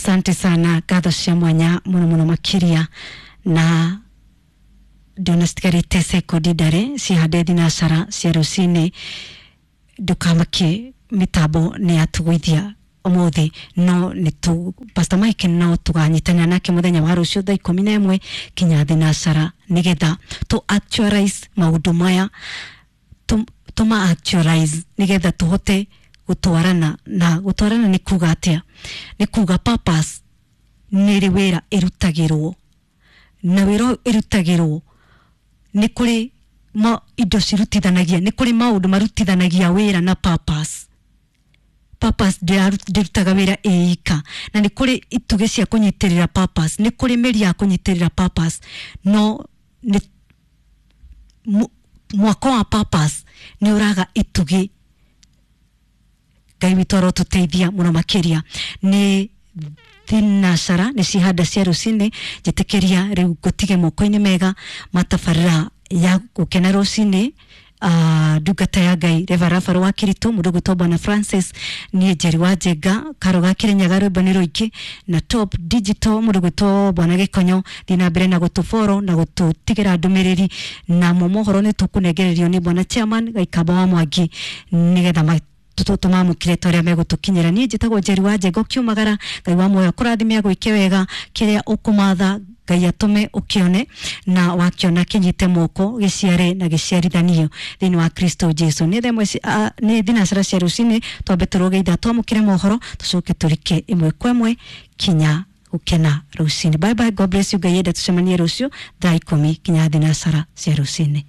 Asante sana, ngatho cia mwanya muno muno makiria. Na ndona citigarite sekondi ndare cihande thinacara cia rucini, ndukamake mitambo ni yatugwithia umuthi, no ni tu Pastor Mike no tuganyitanira nake muthenya wa rucio thaa 11 kinya thinacara, nigetha tu actualize maundu maya, tuma actualize nigetha tuhote gutwarana. Na gutwarana ni kuga atia? Ni kuga purpose ni ri wira irutagirwo, na wira irutagirwo ni kuri ma indo cirutithanagia, ni kuri maundu marutithanagia wira na purpose. Purpose ndirutaga wira ĩika, na nĩ kũrĩ itugĩ cia kũnyitĩrĩra purpose, nĩ kũrĩ mĩri ya kũnyitĩrĩra purpose, no nĩ mwako wa purpose nĩ ũraga itugĩ. Ngai witũ arotũteithia mũno makĩria. Nĩ thinacara nĩ cihanda cia rũcinĩ, njĩtĩkĩria rĩu ngũtige moko-inĩ mega matabarĩra ya gũkena rũcinĩ. Ndungata ya Ngai Reverend wa Kirito mundu gwitwo Bwana Francis, niĩ Njeri wa Njenga karo ga Kirinyaga rwĩmbo nĩ rũingĩ, na Top Digital mundu gwitwo Bwana Gĩkonyo, thiĩ na mbere na gũtũboro na gũtũtigĩra ndũmĩrĩri, na mo mohoro nĩ tũkũnengererio nĩ Bwana Chairman Gaikamba wa Mwangi, nĩgetha tũmamũkĩre ta ũrĩa megũtũkinyĩra. Niĩ njĩtagwo Njeri wa Njenga, ũkiumagara Ngai wa muoyo akũrathime, agwĩke wega, kĩrĩa ũkũmatha Ngai atũme ũkĩone, na wakiona kĩnyite moko gĩciare na gĩciarithanio thĩinĩ wa Kristo Jesu. Nĩ themwe nĩ thinacara cia rũcinĩ, twambe tũrũge ithaa twamũkĩre mohoro, tũcoke tũrike ĩmwe kwa ĩmwe kinya gũkena rũcinĩ. Bye bye, God bless you. Ngai enda tũcemanie rũciũ thaa 10 kinya thinacara cia rũcinĩ.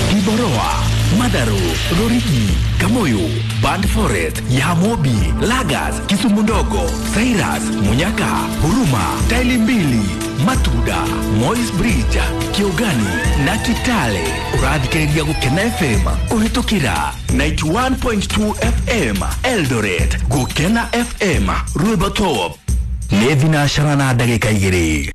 Kiboroa, Madaru, Rorigi, Kamoyo, Band Forest, Yamobi, Lagas, Kisumu Ndogo, Cyrus, Munyaka, Huruma, Taili Mbili, Matuda, Moi's Bridge, Kiugani na Kitale. Ũrathikĩrĩria Gũkena FM kũhĩtũkĩra 91.2 FM Eldoret, Gũkena FM Rwĩmbo Top. Nĩ thinacara na ndagĩka 2.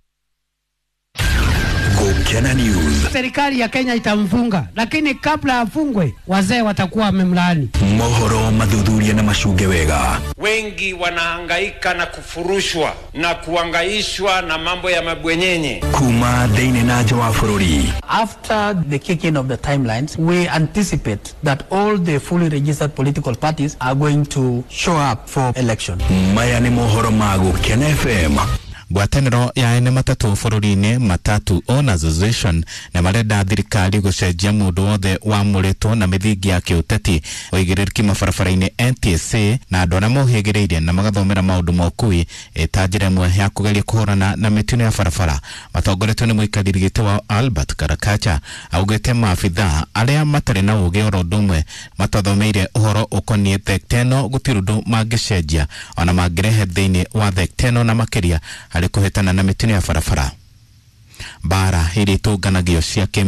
Gũkena News. Serikali ya Kenya itamfunga, lakini kabla afungwe wazee watakuwa wamemlaani. Mohoro mathuthuria na macunge wega. Wengi wanahangaika na kufurushwa na kuangaishwa na mambo ya mabwenyenye. Kuma thĩinĩ na nja wa bũrũri. After the kicking of the timelines, we anticipate that all the fully registered political parties are going to show up for election. Maya nĩ mohoro ma Gũkena FM. Ngwatanĩro ya ene matatũ bũrũri-inĩ, Matatu Owners Association, na marenda thirikari gũcenjia mũndũ wothe wamũrĩtwo na mĩthingi ya kĩũteti, ũigĩrĩrĩki mabarabara-inĩ NTSA na andũ arĩa mohĩgĩrĩire na magathomera maũndũ ma ũkui ta njĩra ĩmwe ya kũgeria kũhũrana na mĩtino ya barabara. Matongoretio nĩ mũikarĩri gĩtĩ wa Albert Karakacha, augĩte maabithaa arĩa matarĩ na ũgĩ oro ũndũ ũmwe matathomeire ũhoro ũkoniĩ thekta ĩno gũtirĩ ũndũ mangĩcenjia ona mangĩrehe thĩinĩ wa thekta ĩno, na makĩria harĩ kũhĩtana na mĩtino ya barabara. Mbara iria itũnganagio cia